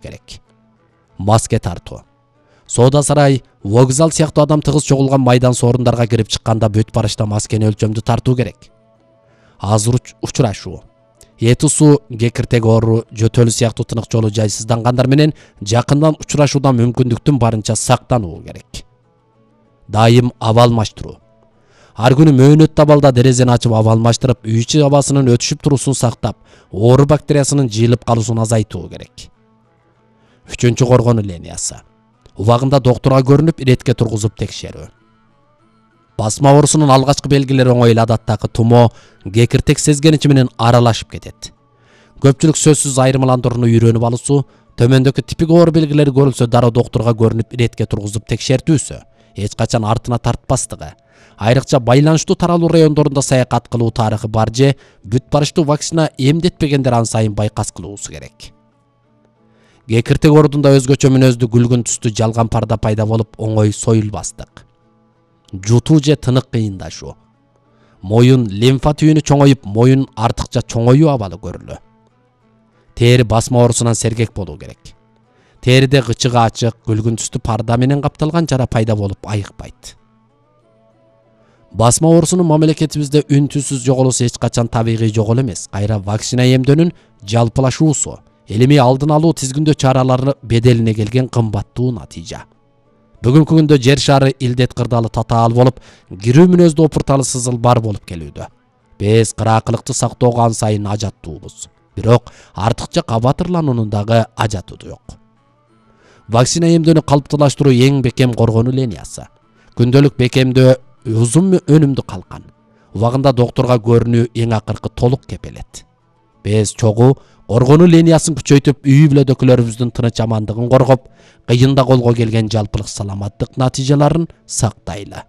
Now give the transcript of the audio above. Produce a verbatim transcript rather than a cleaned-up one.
керек. Маска тартуу. Соода сарай, вокзал сыяктуу адам тыгыз чогулган майдан сорундарга кирип чыкканда бүт барышта маскени өлчөмдүү тартуу керек. Азыр учурашуу, эти суу, кекиртек оору, жөтөлү сыяктуу тынык жолу жайсыздангандар менен жакындан учурашуудан мүмкүндүктүн барынча сактануу керек. Дайым аба алмаштыруу. Ар күнү мөөнөт абалда дерезени ачып аба алмаштырып, үй ичи абасынын өтүшүп туруусун сактап, оору бактериясынын жыйылып калуусун азайтуу керек. Үчүнчү коргонуу линиясы. Убагында доктурга көрүнүп, иретке тургузуп текшерүү. Басма оорусунун алгачкы белгилери оңой эле адаттагы тумо, кекиртек сезгеничи менен аралашып кетет. Көпчүлүк сөзсүз айырмаландырууну үйрөнүп алуусу, төмөндөгү типик оору белгилери көрүлсө дароо доктурга көрүнүп, иретке тургузуп текшертүүсү, эч качан артына тартпастыгы, айрыкча байланыштуу таралуу райондорунда саякат кылуу тарыхы бар же бүт барыштуу вакцина эмдетпегендер ан сайын байкас кылуусу керек. Кекиртек оорудунда өзгөчө мүнөздүү күлгүн түстүү жалган парда пайда болуп, оңой союлбастык. Жутуу же тынык кыйындашуу. Моюн лимфа түйүнү чоңоюп, моюн артыкча чоңоюу абалы көрүлүү. Тери басма оорусунан сергек болуу керек. Териде гычыгы ачык, күлгүн түстүү парда менен капталган жара пайда болуп айыкпайт. Басма оорусунун мамлекетибизде үн-түнсүз жоголуусу эч качан табигый жоголуу эмес. Кайра вакцина эмдөөнүн жалпылашуусу, элими алдын алуу тизгиндөө чаралары беделине келген кымбаттуу натыйжа. Бүгүнкү күндө жер шары илдет кырдаалы татаал болуп, кирүү мүнөздүү опурталы сызыл бар болуп келүүдө. Биз кыраакылыкты сактоого ан сайын ажаттуубуз. Бирок артыкча кабатырлануунун дагы ажаты жок. Вакцина эмдөөнү калыптуулаштыруу эң бекем коргонуу линиясы. Күндөлүк бекемдөө узун өнүмдүү калкан. Убагында доктурга көрүнүү эң акыркы толук кепелет. Биз чогуу коргонуу линиясын күчөйтүп, үй бүлөдөгүлөрүбүздүн тыныч амандыгын коргоп, кыйында колго келген жалпылык саламаттык натыйжаларын сактайлы.